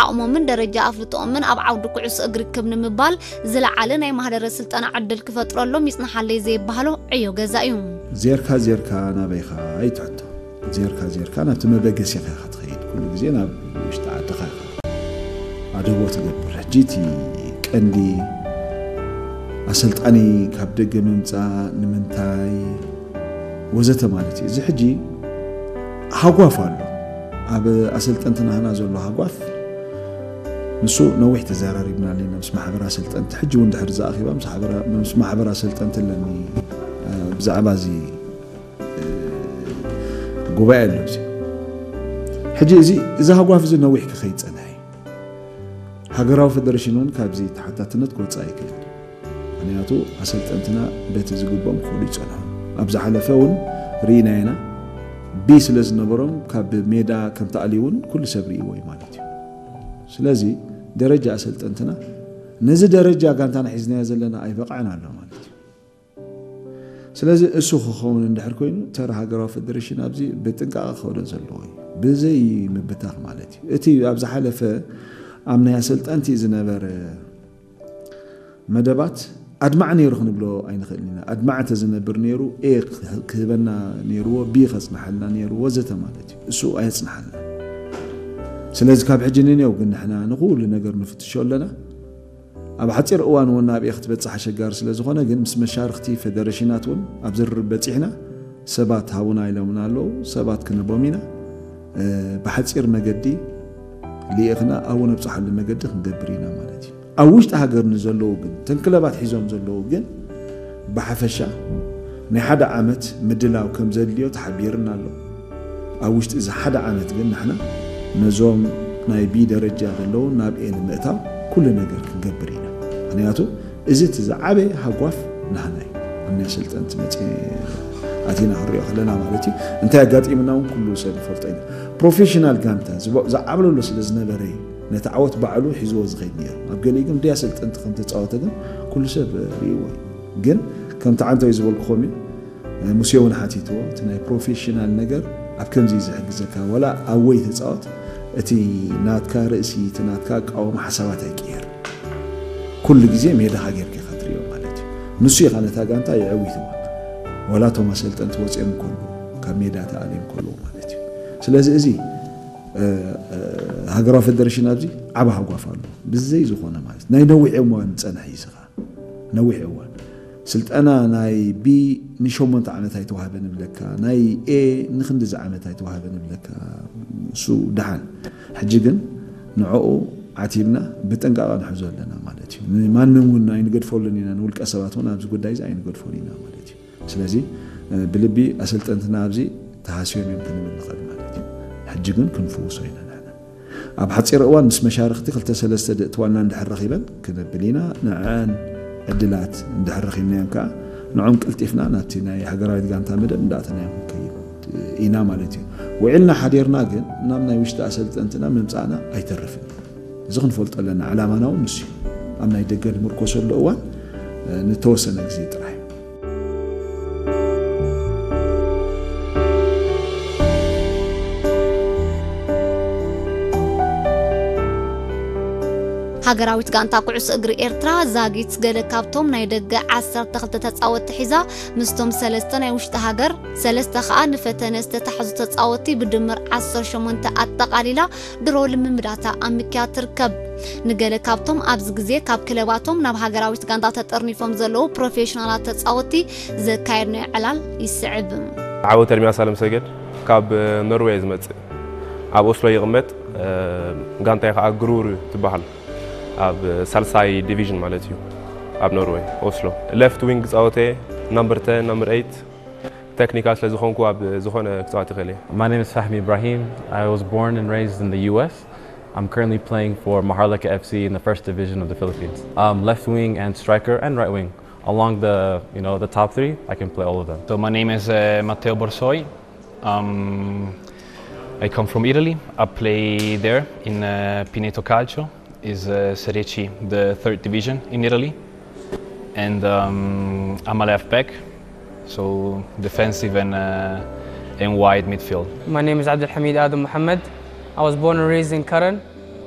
ዓቕሞምን ደረጃ ኣፍልጦኦምን ኣብ ዓውዲ ኩዕሶ እግሪ ክብ ንምባል ዝለዓለ ናይ ማህደረ ስልጠና ዕድል ክፈጥረሎም ይጽንሓለይ ዘይበሃሎ ዕዮ ገዛ እዩ። ዜርካ ዜርካ ናበይኻ እዩ ትሕቶ። ዜርካ ዜርካ ናብቲ መበገሲኻ ኢኻ ትኸይድ። ኩሉ ግዜ ናብ ውሽጢ ዓድኻ ኢኻ ኣደቦ ትገብር። ሕጂ እቲ ቀንዲ ኣሰልጣኒ ካብ ደገ ምምጻእ ንምንታይ ወዘተ ማለት እዩ። እዚ ሕጂ ሃጓፍ ኣሎ። ኣብ ኣሰልጠንቲ ናህና ዘሎ ሃጓፍ ንሱ ነዊሕ ተዘራሪብና ኣለና ምስ ማሕበር ኣሰልጠንቲ። ሕጂ እውን ድሕሪ ዝኣኺባ ምስ ሓበራ-፣ ምስ ማሕበር ኣሰልጠንቲ ኣለኒ፣ እ፣ ብዛዕባ እዚ፣ እ፣ ጉባኤ ኣሎ እዚ። ሕጂ እዚ፣ እዚ ሃጓፍ እዚ ነዊሕ ክኸይድ ጸንሐ እዩ። ሃገራዊ ፈደረሽን እውን ካብዚ ተሓታትነት ክወጽእ ኣይክእል። ምኽንያቱ ኣሰልጠንትና በቲ ዝግብኦም ክኸዱ ይጸንሑ። ኣብ ዝሓለፈ እውን ርኢና ኢና። ቢ ስለ ዝነበሮም ካብ ሜዳ ከም ተኣልዩ እውን ኩሉ ሰብ ርእይዎ እዩ ማለት እዩ። ስለዚ ደረጃ ኣሰልጠንትና ነዚ ደረጃ ጋንታና ሒዝናዮ ዘለና ኣይበቕዐን ኣሎ ማለት እዩ። ስለዚ እሱ ክኸውን እንድሕር ኮይኑ ተራ ሃገራዊ ፈደረሽን ኣብዚ ብጥንቃቐ ክኸዶ ዘለዎ እዩ። ብዘይ ምብታኽ ማለት እዩ። እቲ ኣብ ዝሓለፈ ኣብ ናይ ኣሰልጠንቲ ዝነበረ መደባት ኣድማዕ ነይሩ ክንብሎ ኣይንኽእልን ኢና። ኣድማዕ እንተዝነብር ነይሩ ኤ ክህ-፣ ክህበና ነይርዎ፣ ቢ ከጽንሓልና ነይሩ ወዘተ ማለት እዩ። እሱ ኣየጽንሓልና። ስለዚ ካብ ሕጂ ንኔው ግን ንሕና ንኹሉ ነገር ንፍትሾ ኣለና። ኣብ ሓጺር እዋን እውን ናብ ኤ ክትበጽሕ ኣሸጋሪ ስለ ዝኾነ ግን ምስ መሻርኽቲ ፈደረሽናት እውን ኣብ ዝርርብ በጺሕና ሰባት ሃቡና ኢሎምና ኣለዉ። ሰባት ክንህቦም ኢና። እ፣ ብሓጺር መገዲ ልኢኽና ኣብኡ ነብጽሓሉ መገዲ ክንገብር ኢና ማለት እዩ። ኣብ ውሽጢ ሃገር ንዘለዉ ግን፣ እተን ክለባት ሒዞም ዘለዉ ግን ብሓፈሻ ናይ ሓደ ዓመት ምድላው ከም ዘድልዮ ተሓቢርና ኣሎ። ኣብ ውሽጢ እዚ ሓደ ዓመት ግን ንሕና ነዞም ናይ ቢ ደረጃ ዘለዉ ናብ ኤ ንምእታው ኩሉ ነገር ክንገብር ኢና። ምኽንያቱ እዚ እቲ ዝዓበየ ሃጓፍ ናህና እዩ። ኣብ ናይ ኣሰልጠንቲ መጺ-፣ ኣቲና ክንሪኦ ከለና ማለት እዩ። እንታይ ኣጋጢምና እውን ኩሉ ሰብ ይፈልጦ ኢና። ፕሮፌሽናል ጋንታ ዝቦ-፣ ዝዓብለሎ ስለ ዝነበረ እዩ ነቲ ዓወት ባዕሉ ሒዝዎ ዝኸይድ ነይሩ። ኣብ ገሊኡ ግን ብደይ ኣሰልጠንቲ ከም ተጻወተ ግን ኩሉ ሰብ ርእይዎ እዩ። ግን ከምቲ ዓንተወይ ዝበልኩኹም እዩ፣ ሙሴ እውን ሓቲትዎ፣ እቲ ናይ ፕሮፌሽናል ነገር ኣብ ከምዚ እዩ ዝሕግዘካ። ዋላ ኣብ ወይ ተጻወት፣ እቲ ናትካ ርእሲ፣ እቲ ናትካ ኣቃውማ ሓሳባት ኣይቅየር። ኩሉ ግዜ ሜዳኻ ጌርካ ኢኻ ትርእዮ ማለት እዩ። ንሱ ኢኻ ነታ ጋንታ የዕዊትዋ። ዋላ እቶም ኣሰልጠንቲ ወጺኦም እንከለዉ፣ ካብ ሜዳ ተኣልዮም እንከለዉ ማለት እዩ። ስለዚ እዚ፣ እ፣ እ፣ ሃገራዊ ፈደረሽን ኣብዚ ዓቢ ሃጓፍ ኣሎ። ብዘይ ዝኾነ ማለት ናይ ነዊሕ እዋን ዝጸንሐ እዩ ስኻ። ነዊሕ እዋን። ስልጠና ናይ ቢ ንሸሞንተ ዓመት ኣይተዋህበን እብለካ፣ ናይ ኤ ንክንድዚ ዓመት ኣይተዋህበን እብለካ። እሱ ደሓን። ሕጂ ግን ንዕኡ ዓቲብና ብጥንቃቐ ንሕዞ ኣለና ማለት እዩ። ንማንም እውን ኣይንገድፈሉን ኢና፣ ንውልቀ ሰባት እውን ኣብዚ ጉዳይ እዚ ኣይንገድፎን ኢና ማለት እዩ። ስለዚ፣ እ፣ ብልቢ ኣሰልጠንትና ኣብዚ ተሃስዮም እዮም ክንብል ንኽእል ማለት እዩ። ሕጂ ግን ክንፍውሶ ኢና ንሕና። ኣብ ሓጺር እዋን ምስ መሻርኽቲ ክልተ ሰለስተ ድእትዋልና እንድሕር ረኺበን ክነብል ኢና። ንዐን ዕድላት እንድሕር ረኺብናዮም ከኣ ንዖም ቀልጢፍና ናብቲ ናይ ሃገራዊት ጋንታ መደብ እንዳእተናዮም ክንከይድ ኢና ማለት እዩ። ውዒልና ሓዲርና ግን ናብ ናይ ውሽጢ ኣሰልጠንትና ምምጻእና ኣይተርፍን። እዚ ክንፈልጦ ኣለና። ዕላማና እውን ንሱ እዩ። ኣብ ናይ ደገ ንምርኮሰሉ እዋን፣ እ፣ ንተወሰነ ግዜ ጥራይ። ሃገራዊት ጋንታ ኩዕሶ እግሪ ኤርትራ ዛጊት ገለ ካብቶም ናይ ደገ ዓሰርተ ክልተ ተጻወትቲ ሒዛ ምስቶም ሰለስተ ናይ ውሽጢ ሃገር፣ ሰለስተ ከኣ ንፈተነ ዝተታሕዙ ተጻወትቲ ብድምር ዓሰርተ ሸሞንተ ኣጠቓሊላ ድሮ ልምምዳታ ኣብ ምክያድ ትርከብ። ንገለ ካብቶም ኣብዚ ግዜ ካብ ክለባቶም ናብ ሃገራዊት ጋንታ ተጠርኒፎም ዘለዉ ፕሮፌሽናላት ተጻወትቲ ዘካየድናዮ ዕላል ይስዕብ። ዓወት ኤርሚያስ ኣለምሰገድ ካብ ኖርዌይ ዝመጽእ፣ ኣብ ኦስሎ ይቕመጥ። እ፣ ጋንታይ ከኣ ግሩር ትበሃል፣ ኣብ ሳልሳይ ዲቪዥን ማለት እዩ፣ ኣብ ኖርዌይ ኦስሎ። ሌፍት ዊንግ ጻወተ፣ ናምበር ቴን፣ ናምበር ኤይት፣ ቴክኒካል ስለ ዝኾንኩ ኣብ ዝኾነ ክጻወት ይኽእል እየ። My name is Fahmi Ibrahim. I was born and raised in the U S. I'm currently playing for Maharlika F C in the first division of the Philippines. Um, left wing and striker and right wing. Along the, you know, the top three, I can play all of them. So my name is, uh, Matteo Borsoi. Um, I come from Italy. I play there in, uh, Pineto Calcio. Is, uh, Serie C, the third division in Italy. And, um, I'm a left back, so defensive and, uh, and wide midfield. My name is Abdulhamid Adam Mohammed. I was born and raised in Karan.